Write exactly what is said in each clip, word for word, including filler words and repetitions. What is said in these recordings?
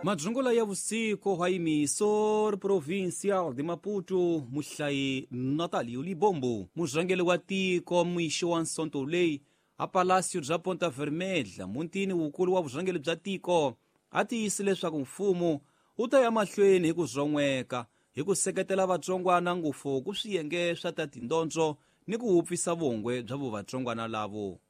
Madzungula ya vusiku wa emisor provincial de Maputo muhlayi Natalio Libombo murhangeri wa tiko mixo wa Nsonto leyi a Palácio bya Ponta Vermelha muntini wukulu wa vurhangeri bya tiko a tiyise leswaku mfumo wu ta ya mahlweni hi ku zon'weka hi ku seketela vatsongwana ngopfu ku swiyenge swa ta tindondzo ni ku wupfisa vongwe bya vuvatsongwana lavo.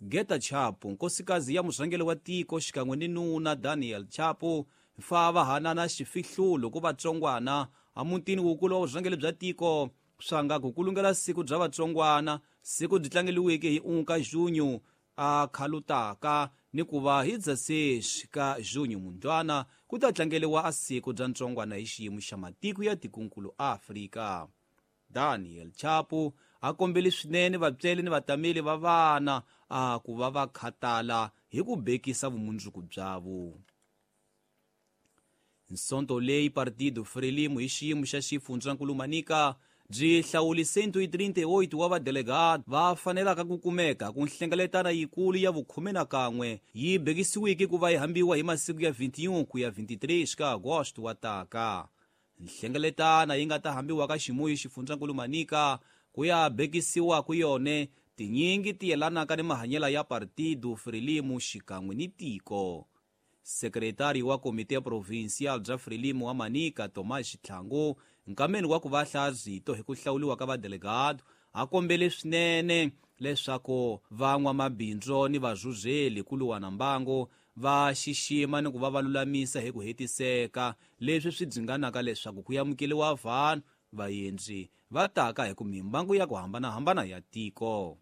Geta Chapo nkosikazi ya murhangeri wa tiko xikan'we ni nuna Daniel Chapo fa va hanana xifihlulo ku vatsongwana a mutini wukulu wa vurhangeri bya tiko swa nga ku kulungela siku bya vatsongwana siku byi tlangeliweke hi unka junho a khalutaka ni ku va hi dezesseis ka junho mundlwana ku ta tlangeliwa a siku bya ntsongwana hi xiyimo xa matiko ya tikonkulu Afrika. Daniel Chapo a kombele swinene vatswari ni vatameli va vana a ku va va khatala hi ku bekisa vumundzuku byavo. Nsonto leyi Partido Frelimo hi xiyimo xa xifundzankulu Manica byi hlawule cento e trinta e oito wa vadelegado va fanelaka ku kumeka ku nhlengeletana yikulu ya vukhume na kan'we yi bekisiweke ku va yi hambiwa hi masiku ya vinte e um ku ya vinte e três ka Agosto wa taka. Nhlengeletana yi nga ta hambiwa ka ximuyi xifundzankulu Manica ku ya bekisiwa ku yone tinyingi ti yelanaka ni mahanyelo ya Partido Frelimo xikan'we ni tiko. Sekretari wa Komite Provincial bya Frelimo wa Manica Tomás Xitlhangu nkameni wa ku va hlaya rito hi ku hlawuriwa ka vadelegado a kombele swinene leswaku van'wamabindzu ni vazuzeli ku luwana mbangu va xixima ni ku va va lulamisa hi ku hetiseka leswi swi dzinganaka leswaku ku amukeriwa vanhu vaendzi va taka hi ku mimbangu ya ku hambanahambana ya tiko.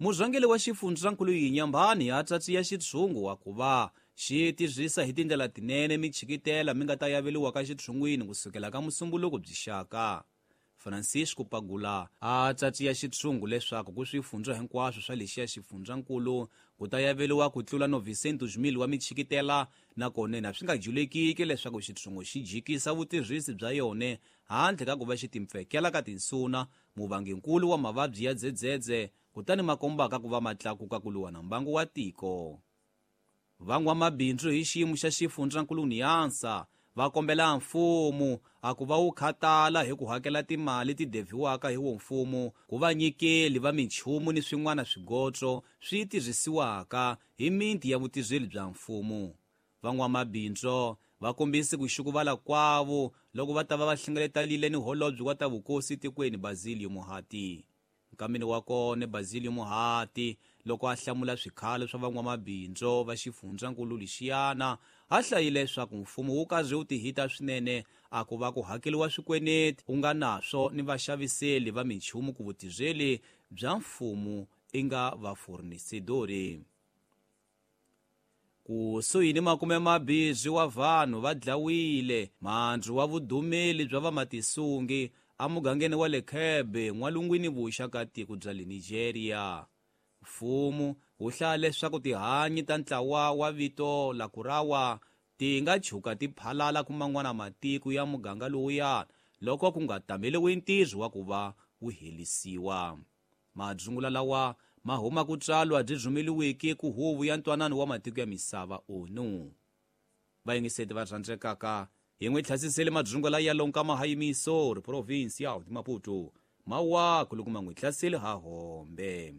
Murhangeri wa xifundzankulu Yinyambani a tsatsiya xitshungu wa ku va xi tirhisa hi tindlela tinene michikitela mi nga ta yaveliwa ka xitshungwini kusukela ka musumbuluko byi xaka. Francisco Pagula a tsatsiya xitshungu leswaku ku swifundza hinkwaswo swa lexiya xifundzankulu ku ta yaveliwa ku tlula novecentos mil wa michikitela nakona na swi nga julekiki leswaku xitshungu xi jikisa vutirhisi bya yona handle ka ku va xi timpfekela ka tinsuna muvanginkulu wa mavabyi ya dzedzedze kutani makombaka ku va matlakuka ku luwana mbangu wa tiko. Van'wamabindzu hi xiyimo xa xifundzankulu Niansa va kombela mfumo a ku va wu khatala hi ku hakela timali ti deviwaka hi wo mfumo ku va nyikeli va minchumu ni swin'wana swigotso swi tirhisiwaka hi miti ya vutirheli bya mfumo. Van'wamabindzu va kombise ku xukuvala kwavo loko va ta va va hlengeletanile ni holobye wa ta vukosi tikweni Basilio Muhati. Nkameni wa kona Basilio Muhati loko a hlamula swikhalo swa van'wamabindzu va xifundzankulu lexiyana a hlayile leswaku mfumo wu karhi wu tihita swinene a ku va ku hakeriwa swikweneti u nga naswo ni vaxaviseli va minchumu ku vutirheli bya mfumo i nga vafornisedori. Kusuhi ni makume mabirhi wa vanhu va dlawile mandzu wa vudumeli bya vamatisungi emugangeni wa le Kebbi n'walungwini vuxa ka tiko bya le Nigeria. Mfumo wu hlaya leswaku tihanyi ta ntlawa wa vito la Kurawa ti nga chuka ti phalala ku man'wana matiko ya muganga lowuya loko ku nga tameliwi ntirho wa ku va wu helisiwa. Madzungula lawa ma huma ku tsalwa byi rhumeliweke ku huvo ya ntwanano wa matiko ya misava O N U. Vayingiseti va rhandzekaka hi n'wi tlhasisele madzungula ya lonka mahayimisori provincial de Maputo mawaku loko ma n'wi hlaseli ha hombe.